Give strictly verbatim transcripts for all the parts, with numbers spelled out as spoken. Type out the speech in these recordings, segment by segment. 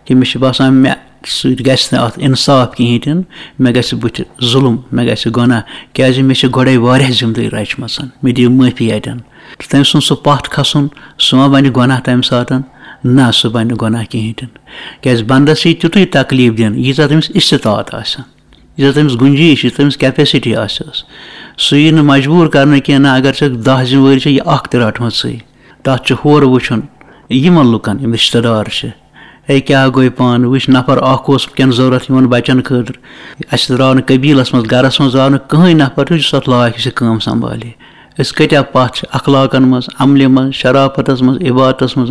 کہِ مےٚ چھُ باسان مےٚ سۭتۍ گژھِ نہٕ اَتھ اِنصاف کِہیٖنۍ تہِ نہٕ، مےٚ گژھِ بٕتھِ ظُلُم، مےٚ گژھِ گۄناہ، کیٛازِ مےٚ چھِ گۄڈَے واریاہ ذِمہٕ دٲری رَچمَژ، مےٚ دِیِو معٲفی اَتٮ۪ن۔ تہٕ تٔمۍ سُنٛد سُہ پَتھ کھَسُن، سُہ ما بَنہِ گۄناہ تَمہِ ساتَن؟ نہ، سُہ بَنہِ نہٕ گۄناہ کِہیٖنۍ تہِ نہٕ، کیٛازِ بَنٛدَس یی تیُتُے تکلیٖف دِنہٕ، ییٖژاہ تٔمِس استطاعت آسہِ، ییٖژاہ تٔمِس گُنجٲیِش چھِ، تٔمِس capacity آسٮ۪س۔ سُہ یی نہٕ مجبوٗر کَرنہٕ کینٛہہ، نہ، اگر ژےٚ دَہ ذِمہٕ وٲری چھےٚ، یہِ اَکھ تہِ رَٹہٕ مَژٕے۔ تَتھ چھُ ہورٕ وٕچھُن یِمَن لُکَن، یِم رِشتہٕ دار چھِ، ہے، کیٛاہ گوٚو پانہٕ؟ وٕچھ، نفر اَکھ اوس وٕنکٮ۪ن ضوٚرَتھ یِمَن بَچَن خٲطرٕ۔ اَسہِ درٛاو نہٕ قبیٖلَس منٛز، گَرَس منٛز درٛاو نہٕ کٕہٕنۍ نفر تیُتھ، یُس اَتھ لایق چھِ کٲم سنبھالہِ۔ أسۍ کۭتیٛاہ پَتھ چھِ اخلاقَن منٛز، عملہِ منٛز، شرافتَس منٛز، عبادتَس منٛز۔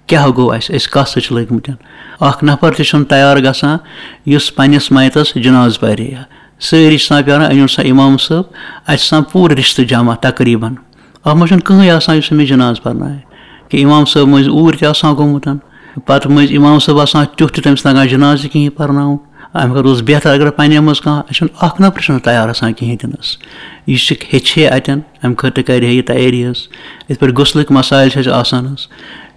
کیٛاہ گوٚو اَسہِ؟ أسۍ کَس سۭتۍ چھِ لٔگۍ مٕتۍ؟ اَکھ نفر تہِ چھُنہٕ تیار گژھان، یُس پنٛنِس مَیتَس جنازٕ پَرِ ہا۔ سٲری چھِ آسان پیٛاران، أنِو سا اِمام صٲب، اَسہِ چھِ آسان پوٗرٕ رِشتہٕ جمع تقریٖباً۔ اَتھ منٛز چھُنہٕ کٕہٕنۍ آسان یُس أمِس جنازٕ پَرنایہِ، کہِ اِمام صٲب مٔنٛزۍ اوٗرۍ تہِ آسان گوٚمُت، پَتہٕ مٔنٛزۍ اِمام صٲب آسان تیُتھ تہِ تٔمِس تَگان جنازٕ کِہیٖنۍ پَرناوُن۔ اَمہِ خٲطرٕ اوس بہتر اگر پنٛنہِ منٛز کانٛہہ، اَسہِ چھُنہٕ اَکھ نفر چھُنہٕ تیار آسان کِہیٖنۍ تہِ نَس۔ یہِ چھِ ہیٚچھِ ہے اَتٮ۪ن، اَمہِ خٲطرٕ کَرِ ہے یہِ تیٲری حظ۔ یِتھ پٲٹھۍ غسلٕکۍ مسائل چھِ اَسہِ آسان حظ،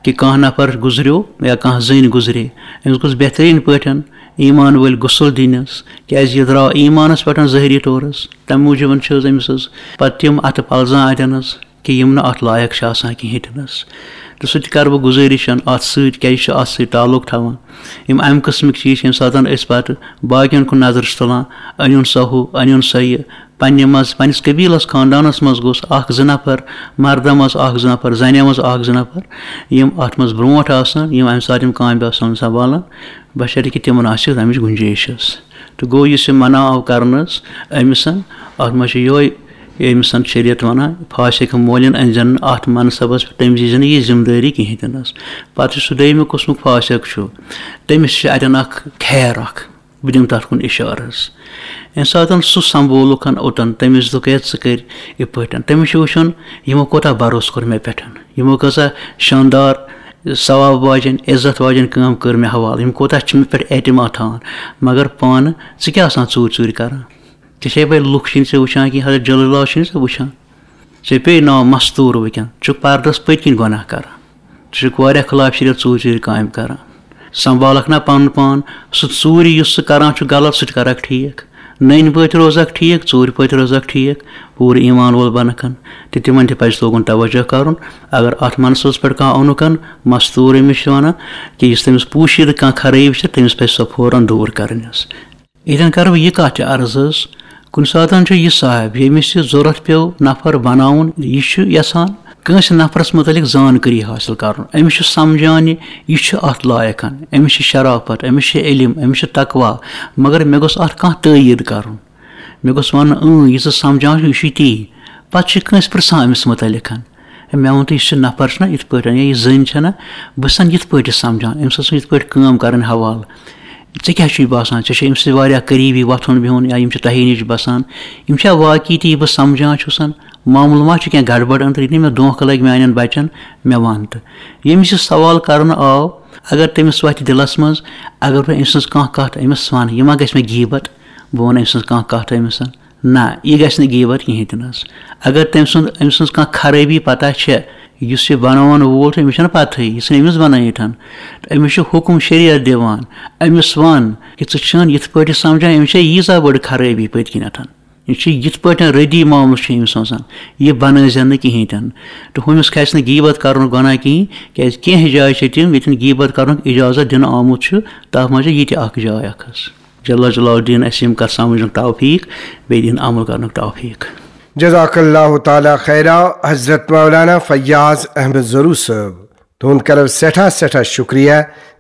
کہِ کانٛہہ نفر گُزریو یا کانٛہہ زٔنۍ گُزرے، أمِس گوٚژھ بہتریٖن پٲٹھۍ ایٖمان وٲلۍ غسل دِنَس، کیٛازِ یہِ درٛاو ایٖمانَس پٮ۪ٹھ ظٲہری طور حظ۔ تَمہِ موٗجوٗبَن چھِ حظ أمِس حظ پَتہٕ تِم اَتھٕ پَلزان اَتٮ۪ن حظ، کہِ یِم نہٕ اَتھ لایق چھِ آسان کِہیٖنۍ تہِ نہٕ حظ۔ تہٕ سُہ تہِ کَرٕ بہٕ گُزٲرِش اَتھ سۭتۍ، کیٛازِ یہِ چھُ اَتھ سۭتۍ تعلق تھاوان۔ یِم اَمہِ قٕسمٕکۍ چیٖز چھِ ییٚمہِ ساتَن أسۍ پَتہٕ باقیَن کُن نظر چھِ تُلان، أنِوُن سا ہُہ، أنِوُن سا یہِ، پنٛنہِ منٛز، پنٛنِس قبیٖلَس، خاندانَس منٛز گوٚژھ اَکھ زٕ نفر، مردَن منٛز اَکھ زٕ نفر، زَنٮ۪ن منٛز اَکھ زٕ نفر، یِم اَتھ منٛز برونٛٹھ آسَن، یِم اَمہِ ساتہٕ یِم کامہِ آسَن سنبھالان، بشرطیکہِ تِمَن آسہِ اَمِچ گُنجٲیِش حظ۔ تہٕ گوٚو، یُس یہِ منع آو کرنہٕ حظ أمِس، اَتھ منٛز چھِ یِہوٚے أمِس شریعت وَنان، فاسق مولٮ۪ن أنۍزٮ۪ن نہٕ اَتھ منصبَس پٮ۪ٹھ، تٔمِس دیٖزٮ۪ن نہٕ یہِ ذمہٕ دٲری کِہیٖنۍ تہِ نہٕ حظ۔ پَتہٕ یُس سُہ دوٚیمہِ قٕسمُک فاسق چھُ، تٔمِس چھِ اَتٮ۪ن اَکھ خیر اَکھ، بہٕ دِمہٕ تَتھ کُن اِشارٕ حظ۔ ییٚمہِ ساتَن سُہ سنبھولُکھ اوٚتَن، تٔمِس دوٚپ، "ہے، ژٕ کٔرۍ یِتھ پٲٹھۍ۔" تٔمِس چھُ وٕچھُن، یِمو کوٗتاہ بھروسہٕ کوٚر مےٚ پٮ۪ٹھ، یِمو کۭژاہ شاندار، ثواب واجٮ۪ن، عزت واجٮ۪ن کٲم کٔر مےٚ حوالہٕ، یِم کوٗتاہ چھِ مےٚ پٮ۪ٹھ اعتماد تھاوان۔ مگر پانہٕ ژٕ کیٛاہ آسان ژوٗرِ ژوٗرِ کَران؟ ژےٚ چھے پَے، لُکھ چھِنہٕ ژےٚ وٕچھان کِہیٖنۍ، حضرت جلیل اللہ چھِنہٕ ژےٚ وٕچھان۔ ژےٚ پیٚیہِ ناو مستوٗر وٕنکٮ۪ن، ژٕ چھُکھ پردس پٔتۍ کِنۍ گۄناہ کران، ژٕ چھُکھ واریاہ خلاف شریعت ژوٗرِ ژوٗرِ کامہِ کران۔ سنبھالکھ نا پنُن پان، سُہ ژوٗرِ یُس ژٕ کران چھُکھ غلط، سُہ تہِ کرکھ ٹھیٖک۔ نٔنۍ پٲٹھۍ روزکھ ٹھیٖک، ژوٗرِ پٲٹھۍ روزکھ ٹھیٖک، پوٗرٕ ایمان وول بنکھ۔ تہٕ تِمن تہِ پزِ لوگُن توجہ کرُن۔ اگر اتھ منصوبس پٮ۪ٹھ کانٛہہ اونُکن مستوٗر أمِس چھِ ونان کہِ یُس تٔمِس پوٗشیدٕ کانٛہہ خرٲبی چھِ، تٔمِس پزِ سۄ فوراً دوٗر کرٕنۍ حظ۔ ییٚتٮ۪ن کَرٕ بہٕ یہِ کَتھ تہِ عرض حظ، کُنہِ ساتَن چھُ یہِ صاحب، ییٚمِس یہِ ضوٚرَتھ پیوٚو نفر بَناوُن، یہِ چھُ یَژھان کٲنٛسہِ نفرَس مُتعلِق زانکٲری حٲصِل کَرُن۔ أمِس چھُ سَمجھان یہِ، یہِ چھُ اَتھ لایق، أمِس چھِ شرافت، أمِس چھِ علم، أمِس چھِ تقویٰ، مگر مےٚ گوٚژھ اَتھ کانٛہہ تٲییٖد کَرُن۔ مےٚ گوٚژھ وَنُن، اۭں، یہِ ژٕ سَمجھان چھُکھ، یہِ چھُے تی۔ پَتہٕ چھِ کٲنٛسہِ پِرٛژھان أمِس مُتعلِق۔ ہے، مےٚ ووٚن تہٕ، یُس یہِ نفر چھُنہ یِتھ پٲٹھۍ، یا یہِ زٔنۍ چھَنہ، بہٕ چھَسَن یِتھ پٲٹھۍ یہِ سَمجھان، أمِس ٲس یِتھ پٲٹھۍ کٲم کَرٕنۍ حوالہٕ۔ ژےٚ کیٛاہ چھُے باسان؟ ژےٚ چھےٚ أمِس سۭتۍ واریاہ قریٖبی وۄتھُن بِہُن، یا یِم چھِ تۄہے نِش بَسان؟ یِم چھا واقعی تہِ یہِ بہٕ سَمجھان چھُسَن؟ معاملہٕ ما چھُ کینٛہہ گڑبڑ أنٛدرٕ؟ یہِ نہٕ مےٚ دھونٛکھٕ لَگہِ میٛانٮ۪ن بَچَن، مےٚ وَن تہٕ۔ ییٚمِس یہِ سوال کَرنہٕ آو، اگر تٔمِس وَتھِ دِلَس منٛز، اگر بہٕ أمۍ سٕنٛز کانٛہہ کَتھ أمِس وَنہٕ، یہِ ما گژھِ مےٚ غیٖبت؟ بہٕ وَنہٕ أمۍ سٕنٛز کانٛہہ کَتھ أمِس۔ نہ، یہِ گژھِ نہٕ غیٖبت کِہیٖنۍ تہِ نہٕ حظ۔ اگر تٔمۍ سُنٛد، أمۍ سٕنٛز کانٛہہ خرٲبی پَتہ چھےٚ، یُس یہِ بَناوَن وول چھُ، أمِس چھَنہٕ پَتہٕے، یہِ ژھٕنہِ أمِس بَنٲیِتھ۔ تہٕ أمِس چھُ حُکُم شریعت دِوان، أمِس وَن کہِ ژٕ چھَن یِتھ پٲٹھۍ یہِ سَمجھان، أمِس چھےٚ ییٖژاہ بٔڑ خرٲبی پٔتۍ کِنٮ۪تھ۔ یہِ چھُ یِتھ پٲٹھۍ ردی معاملہٕ چھُ أمِس آسان، یہِ بَنٲیزٮ۪ن نہٕ کِہیٖنۍ تہِ نہٕ۔ تہٕ ہُمِس کھسہِ نہٕ غیٖبت کَرنُک گۄناہ کِہیٖنۍ، کیٛازِ کینٛہہ جایہِ چھِ تِم، ییٚتٮ۪ن غیٖبت کَرنُک اِجازت دِنہٕ آمُت چھُ، تَتھ منٛز چھِ یہِ تہِ اَکھ جاے اَکھ حظ۔ جل جلال دِیِن اَسہِ یِم کَتھ سَمجھنُک توفیٖق، بیٚیہِ دِیِن عمل کَرنُک توفیٖق۔ جزاک اللہ تعالیٰ خیرا، حضرت مولانا فیاض احمد ضروٗ صٲب، تُہُنٛد کَرو سٮ۪ٹھاہ سٮ۪ٹھاہ شُکریہ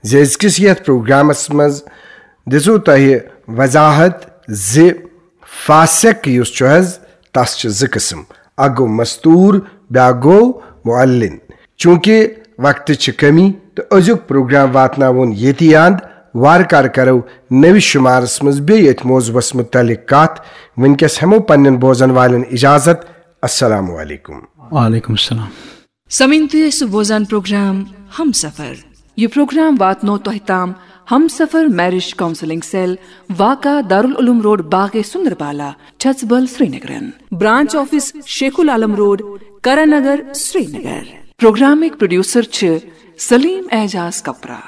زِ أزکِس یَتھ پروگرامَس منٛز دِژوٕ تۄہہِ وضاحت زِ فاسق یُس چھُ حظ، تَس چھِ زٕ قٕسٕم، اَکھ گوٚو مستوٗر، بیٛاکھ گوٚو معلن۔ چوٗنٛکہِ وقتٕچ چھِ کمی تہٕ أزیُک پروگرام واتناوون ییٚتی اند۔ وارٕ کارٕ کرو نٔوِس شُمارس منٛز بیٚیہِ أتھۍ موضوعس مُتعلق کتھ۔ وٕنکیٚس ہٮ۪مو پننٮ۪ن بوزن والٮ۪ن اجازت۔ السلام علیکم۔ وعلیکم السلام۔ سامعین، تُہۍ ٲسِو بوزان پروگرام ہمسفر۔ یہِ پروگرام واتنو تۄہہِ تام ہمسفر میرج کونسلنگ سیل، واقع دارالعلوم روڈ، باغے سندربالا، چھژبل، سرینگرن۔ Branch office Sheikh ul Alam road, Karan Nagar, Srinagar. پروگرامٕکۍ پروڈیوسر چھِ سلیم اعجاز کپرا۔